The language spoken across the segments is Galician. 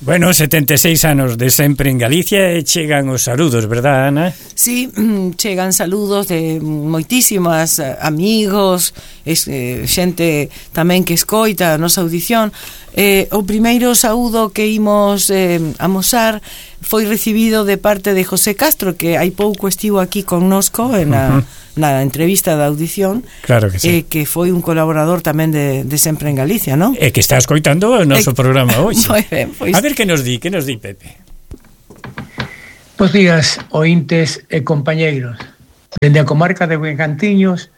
Bueno, 76 anos de sempre en Galicia e chegan os saludos, verdad, Ana? Sí, chegan saludos de moitísimas amigos, xente tamén que escoita a nosa audición. O primeiro saúdo que imos amosar foi recibido de parte de José Castro, que hai pouco estivo aquí connosco na entrevista da audición. Claro que sí. Que foi un colaborador tamén de Sempre en Galicia, non? E que está escoitando o noso programa hoxe. Moi ben, pois... A ver que nos di Pepe. Bos días, ointes e compañeiros. Dende a comarca de Begantiños,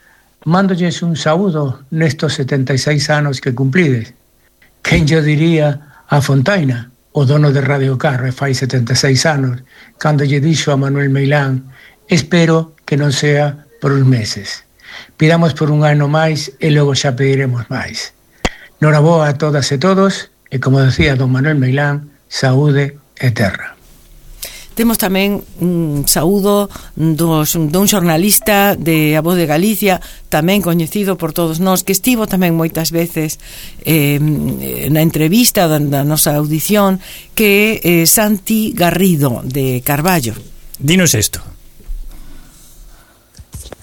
mándolles un saúdo nestos 76 anos que cumplides. Quen yo diría a Fontaina, o dono de Radio Carro, e fai 76 anos, cando lle dixo a Manuel Meilán: espero que non sea por uns meses. Pidamos por un ano máis e logo xa pediremos máis. Noraboa a todas e todos, e como decía don Manuel Meilán, saúde e terra. Temos tamén un saúdo dun xornalista de A Voz de Galicia, tamén coñecido por todos nós, que estivo tamén moitas veces na entrevista da nosa audición, que é Santi Garrido, de Carballo. Dinos isto.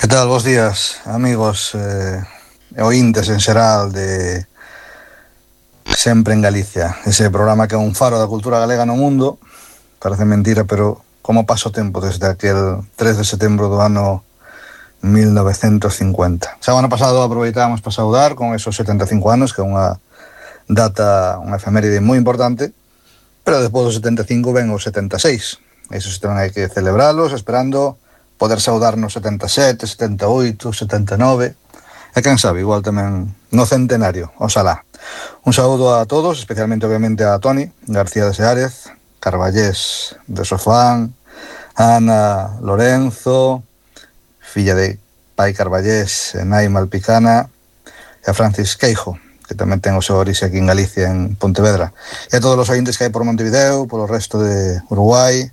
Que tal, bons días, amigos e ointes en xeral de Sempre en Galicia, ese programa que é un faro da cultura galega no mundo. Parece mentira, pero como pasa o tempo desde aquel 3 de setembro do ano 1950. Xa o ano pasado aproveitamos para saudar con esos 75 anos, que é unha data, unha efeméride moi importante, pero despois dos 75 ven os 76. Esos tamén hai que celebralos, esperando poder saudar nos 77, 78, 79, e quen sabe, igual tamén no centenario, oxalá. Un saúdo a todos, especialmente obviamente a Toni García de Seárez, Carballés de Sofán, Ana Lorenzo, filla de pai Carballés, nai Malpicana, e a Francis Queijo, que tamén ten o seu orixe aquí en Galicia, en Pontevedra. E a todos os ointes que hai por Montevideo, polo resto de Uruguai,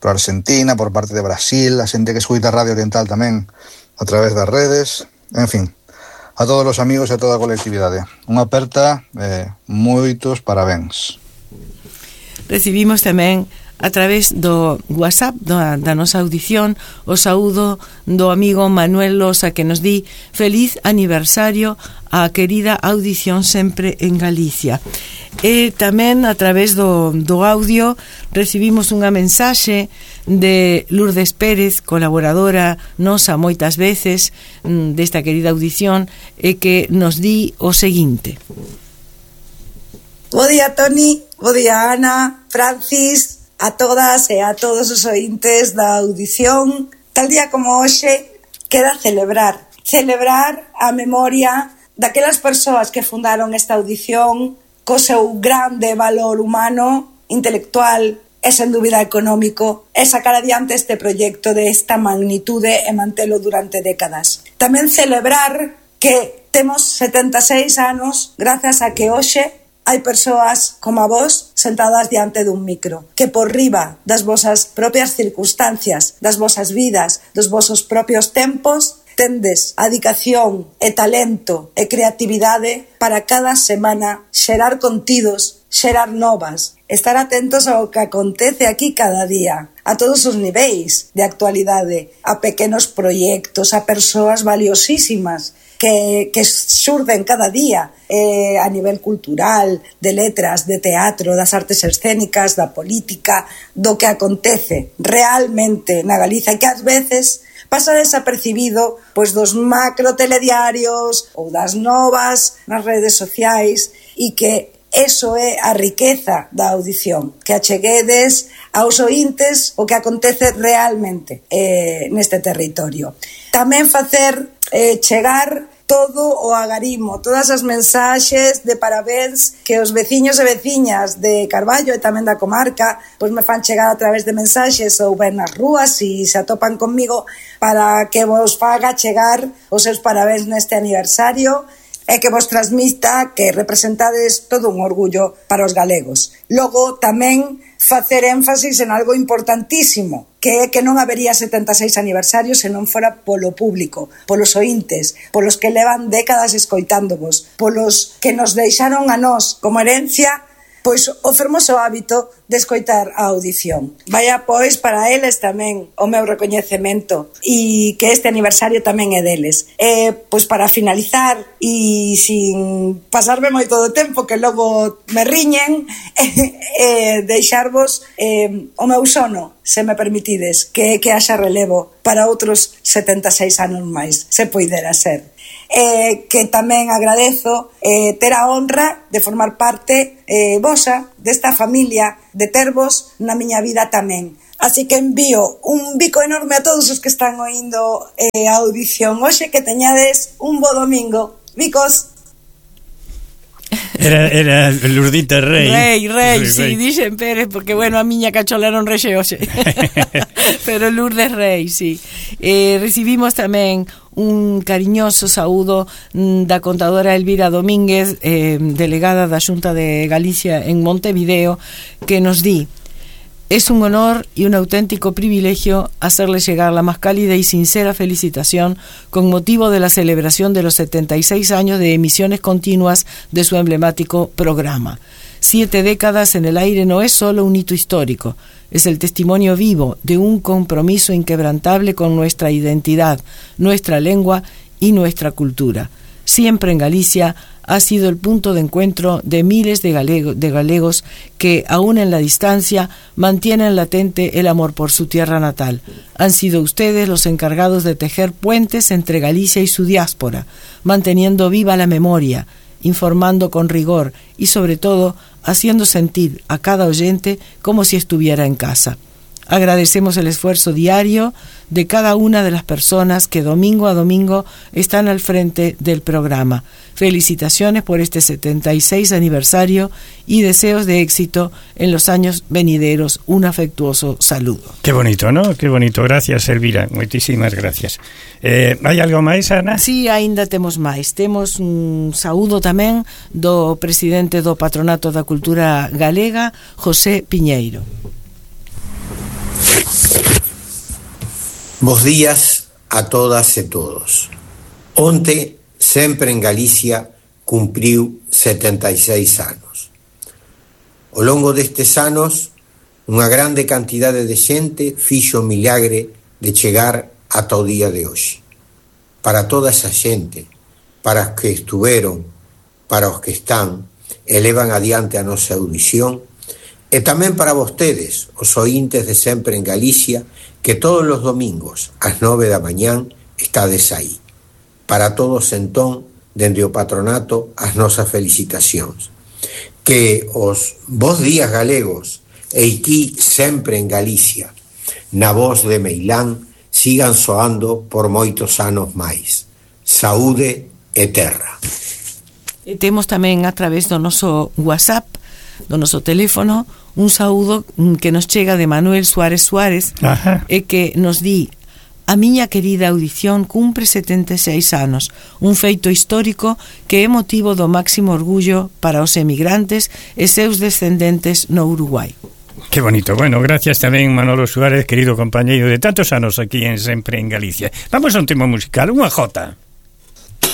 por Argentina, por parte de Brasil, a xente que escuita Radio Oriental tamén a través das redes, en fin, a todos os amigos e a toda a colectividade. Unha aperta e moitos parabéns. Recibimos tamén a través do WhatsApp da nosa audición o saúdo do amigo Manuel Losa, que nos di feliz aniversario á querida audición Sempre en Galicia. E tamén a través do audio recibimos unha mensaxe de Lourdes Pérez, colaboradora nosa moitas veces desta querida audición, e que nos di o seguinte: Bo día, Toni, bo día, Ana, Francis, a todas e a todos os ointes da audición. Tal día como hoxe queda celebrar a memoria daquelas persoas que fundaron esta audición co seu grande valor humano, intelectual e sen dúbida económico, e sacar adiante este proxecto de esta magnitude e mantelo durante décadas. Tamén celebrar que temos 76 anos grazas a que hoxe hai persoas como a vos sentadas diante dun micro, que por riba das vosas propias circunstancias, das vosas vidas, dos vosos propios tempos, tendes a dedicación e talento e creatividade para cada semana xerar contidos, xerar novas, estar atentos ao que acontece aquí cada día, a todos os niveis de actualidade, a pequenos proxectos, a persoas valiosísimas que xurden cada día a nivel cultural, de letras, de teatro, das artes escénicas, da política, do que acontece realmente na Galiza, que ás veces pasa desapercibido pois dos macro telediarios ou das novas nas redes sociais, e que eso é a riqueza da audición, que acheguedes aos ointes o que acontece realmente neste territorio. Tamén facer chegar todo o agarimo, todas as mensaxes de parabéns que os veciños e veciñas de Carballo e tamén da comarca pois me fan chegar a través de mensaxes ou ben nas rúas e se atopan comigo, para que vos faga chegar os seus parabéns neste aniversario e que vos transmita que representades todo un orgullo para os galegos. Logo tamén facer énfasis en algo importantísimo, que é que non habería 76 aniversarios se non fora polo público, polos ointes, polos que levan décadas escoitándovos, polos que nos deixaron a nós como herencia pois o fermoso hábito de escoitar a audición. Vaya pois para eles tamén o meu recoñecemento e que este aniversario tamén é deles. Pois para finalizar e sin pasarme moito do tempo que logo me riñen, deixarvos o meu sono, se me permitides, que haxa relevo para outros 76 anos máis, se poidera ser. Que tamén agradezo ter a honra de formar parte vosa desta familia, de tervos na miña vida tamén. Así que envío un bico enorme a todos os que están oindo a audición hoxe, que teñades un bo domingo. Bicos. Era Lurdita Rei. Rei, sí, dixen Pérez, porque, bueno, a miña cachola non rexe hoxe. Pero Lourdes Rei, sí. Recibimos tamén un cariñoso saúdo da contadora Elvira Domínguez, delegada da Xunta de Galicia en Montevideo, que nos di: es un honor y un auténtico privilegio hacerle llegar la más cálida y sincera felicitación con motivo de la celebración de los 76 años de emisiones continuas de su emblemático programa. 7 décadas en el aire no es solo un hito histórico, es el testimonio vivo de un compromiso inquebrantable con nuestra identidad, nuestra lengua y nuestra cultura. Siempre en Galicia ha sido el punto de encuentro de miles de galegos que, aún en la distancia, mantienen latente el amor por su tierra natal. Han sido ustedes los encargados de tejer puentes entre Galicia y su diáspora, manteniendo viva la memoria, informando con rigor y, sobre todo, haciendo sentir a cada oyente como si estuviera en casa. Agradecemos el esfuerzo diario de cada una de las personas que domingo a domingo están al frente del programa. Felicitaciones por este 76 aniversario y deseos de éxito en los años venideros. Un afectuoso saludo. Qué bonito, ¿no? Qué bonito. Gracias, Elvira. Moitísimas gracias. Hai algo máis, Ana? Sí, aínda temos máis. Temos un saúdo tamén do presidente do Patronato da Cultura Galega, José Piñeiro. Bos días a todas e todos. Onte, Sempre en Galicia cumpriu 76 anos. Ao longo destes anos, unha grande cantidade de xente fixo o milagre de chegar ata o día de hoxe. Para toda esa xente, para os que estuveron, para os que están, elevan adiante a nosa audición, e tamén para vostedes, os oíntes de Sempre en Galicia, que todos os domingos, ás 9 da mañán, estades aí. Para todos, entón, dende o patronato, as nosas felicitacións. Que os bos días galegos, e aquí Sempre en Galicia, na voz de Meilán, sigan soando por moitos anos máis. Saúde e terra. E temos tamén a través do noso WhatsApp, do noso teléfono, un saúdo que nos chega de Manuel Suárez Suárez. Ajá. E que nos di: a miña querida audición cumpre 76 anos, un feito histórico que é motivo do máximo orgullo para os emigrantes e seus descendentes no Uruguai. Qué bonito. Bueno, gracias tamén, Manolo Suárez, querido compañeiro de tantos anos aquí en Sempre en Galicia. Vamos a un tema musical, unha jota.